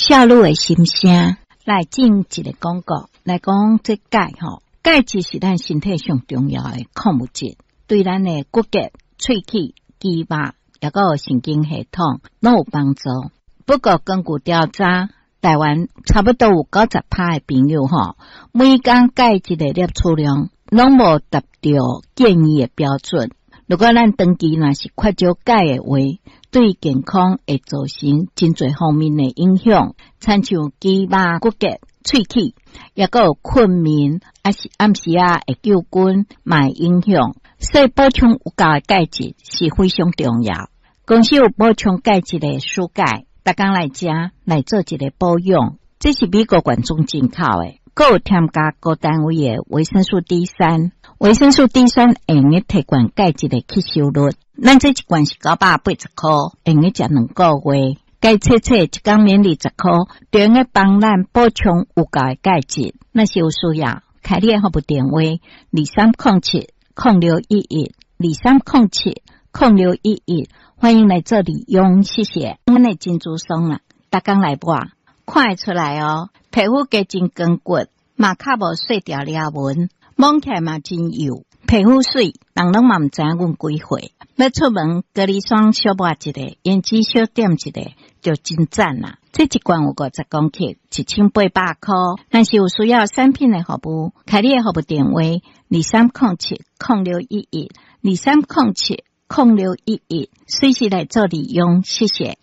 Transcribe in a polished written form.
少女的心聲。來進一个廣告，來講這鈣吼，鈣質是咱身體上重要的礦物質，對咱的骨骼、喙齒、肌肉，抑閣有神經系統攏有幫助。不過根據調查，台灣差不多有90趴的朋友吼，每工鈣質的攝取量攏無達到建議的標準。如果咱長期若是缺少鈣的話，對健康會造成真濟方面的影響，親像肌肉、骨骼、喙齒，抑閣有困眠，抑是暗時仔會揪筋，嘛會影響。所以補充有夠的鈣質是非常重要。公司有補充鈣質的舒鈣，逐工來食來做一个保養。這是美國原裝進口的，閣有添加高單位的維生素 D 三。維生素 D 三會用得提懸鈣質的吸收率。咱這一罐是980箍，會用得食2個月。該冊冊一工免二十箍，就用得幫咱補充有夠的鈣質。若是有需要，開你的服務電話：2307-0611，2307-0611，歡迎來做利用，謝謝。阮的珍珠霜啦，逐工來抹，看會出來哦，皮膚加真光滑，嘛較無細條裂紋，摸起來嘛真幼，皮膚媠，人攏嘛毋知影阮幾歲。欲出門，隔離霜小抹一个，胭脂小點一个，就真讚啦。這一罐有50公克，1800箍。若是有需要產品的服務，開你的服務電話：2307-0611，2307-0611，隨時來做利用，謝謝。